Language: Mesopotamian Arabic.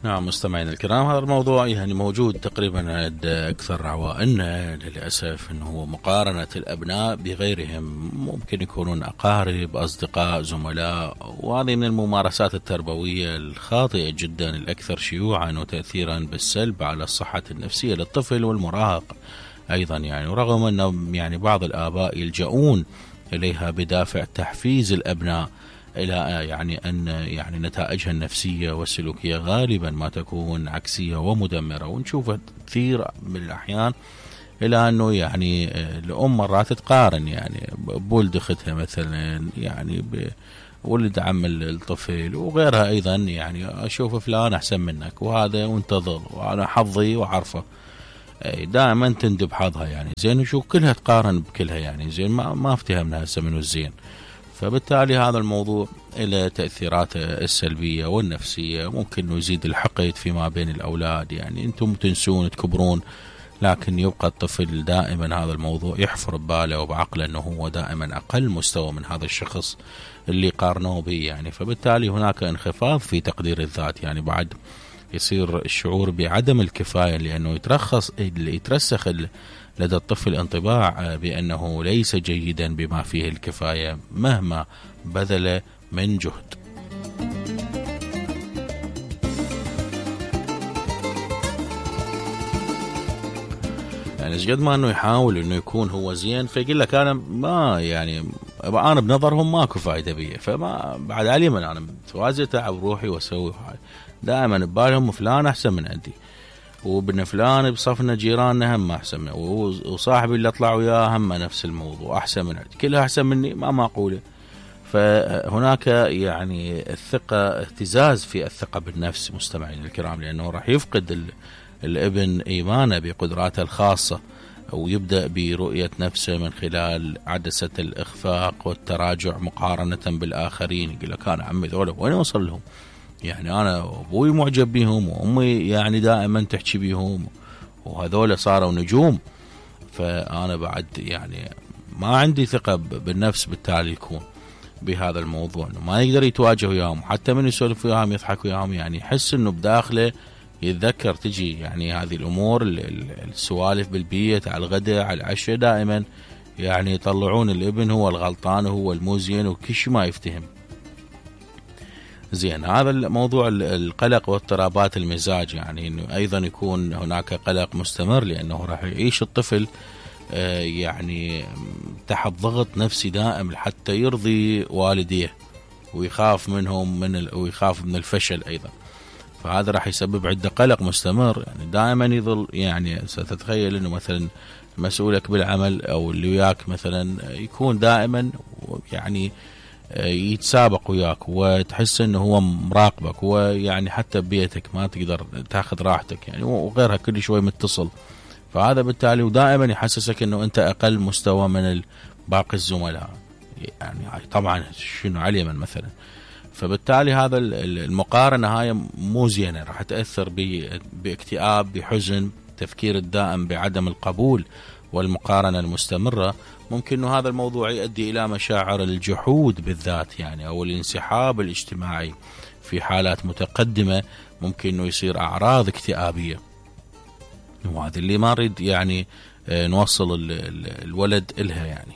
نعم مستمعينا الكرام، هذا الموضوع يعني موجود تقريبا عند أكثر عوائلنا للأسف، أنه هو مقارنة الأبناء بغيرهم، ممكن يكونون أقارب، أصدقاء، زملاء، وهذه من الممارسات التربوية الخاطئة جدا الأكثر شيوعا وتأثيرا بالسلب على الصحة النفسية للطفل والمراهق أيضا. يعني ورغم أن يعني بعض الآباء يلجؤون إليها بدافع تحفيز الأبناء إلى يعني أن يعني نتائجها النفسية والسلوكية غالبا ما تكون عكسية ومدمرة، ونشوف كثير من الأحيان إلى أنه يعني الأم مرات تقارن يعني بولد أختها مثلا، يعني بولد عم الطفل وغيرها أيضا، يعني أشوف فلان أحسن منك وهذا وانتظر وأنا حظي وعرفه، دائما تندب حظها يعني زين، شو كلها تقارن بكلها يعني زين، ما افتهمنا هسه منو الزين. فبالتالي هذا الموضوع له تأثيراته السلبية والنفسية، ممكن انه يزيد الحقد فيما بين الأولاد، يعني أنتم تنسون تكبرون لكن يبقى الطفل دائما هذا الموضوع يحفر بباله وبعقله أنه هو دائما أقل مستوى من هذا الشخص اللي قارنوه به يعني. فبالتالي هناك انخفاض في تقدير الذات، يعني بعد يصير الشعور بعدم الكفاية، لأنه يترسخ لدى الطفل انطباع بأنه ليس جيدا بما فيه الكفاية مهما بذل من جهد. يعني قد ما انه يحاول انه يكون هو زين، فيقول لك انا ما يعني انا بنظرهم ماكو فايده بي، فما بعد علي من انا متوازي اتعب روحي واسوي هاي، دائما ببالهم فلان احسن من عندي، وابن فلان بصفنا جيراننا هم احسن منه، وصاحبي اللي اطلع وياه هم نفس الموضوع احسن من عندي، كلها احسن مني ما معقوله. فهناك يعني الثقه، اهتزاز في الثقه بالنفس مستمعين الكرام، لانه راح يفقد الابن ايمانه بقدراته الخاصه، ويبدا برؤيه نفسه من خلال عدسه الاخفاق والتراجع مقارنه بالاخرين. يقول لك انا عمي ذولا وين اوصل لهم، يعني أنا أبوي معجب بهم وأمي يعني دائما تحكي بهم وهذول صاروا نجوم، فأنا بعد يعني ما عندي ثقة بالنفس، بالتالي يكون بهذا الموضوع إنه ما يقدر يتواجه وياهم، حتى من يسولف وياهم يضحك وياهم، يعني يحس إنه بداخله يتذكر تجي يعني هذه الأمور السوالف بالبيت على الغداء على العشاء، دائما يعني يطلعون الابن هو الغلطان وهو الموزين وكل شيء ما يفتهم زين. هذا الموضوع القلق واضطرابات المزاج، يعني انه ايضا يكون هناك قلق مستمر، لانه راح يعيش الطفل يعني تحت ضغط نفسي دائم حتى يرضي والديه، ويخاف منهم ويخاف من الفشل ايضا، فهذا راح يسبب عنده قلق مستمر، يعني دائما يظل يعني ستتخيل انه مثلا مسؤولك بالعمل او اللي وياك مثلا يكون دائما يعني يتسابق وياك وتحس انه هو مراقبك، ويعني حتى ببيتك ما تقدر تاخذ راحتك يعني، وغيرها كل شوي متصل، فهذا بالتالي ودائما يحسسك انه انت اقل مستوى من باقي الزملاء، يعني طبعا شنو علي من مثلا. فبالتالي هذا المقارنة هاي مو زينة، راح تأثر باكتئاب، بحزن، تفكير الدائم بعدم القبول والمقارنة المستمرة. ممكن أنه هذا الموضوع يؤدي إلى مشاعر الجحود بالذات يعني، أو الانسحاب الاجتماعي في حالات متقدمة، ممكن أنه يصير أعراض اكتئابية، وهذا اللي ما نريد يعني نوصل الولد إلها يعني.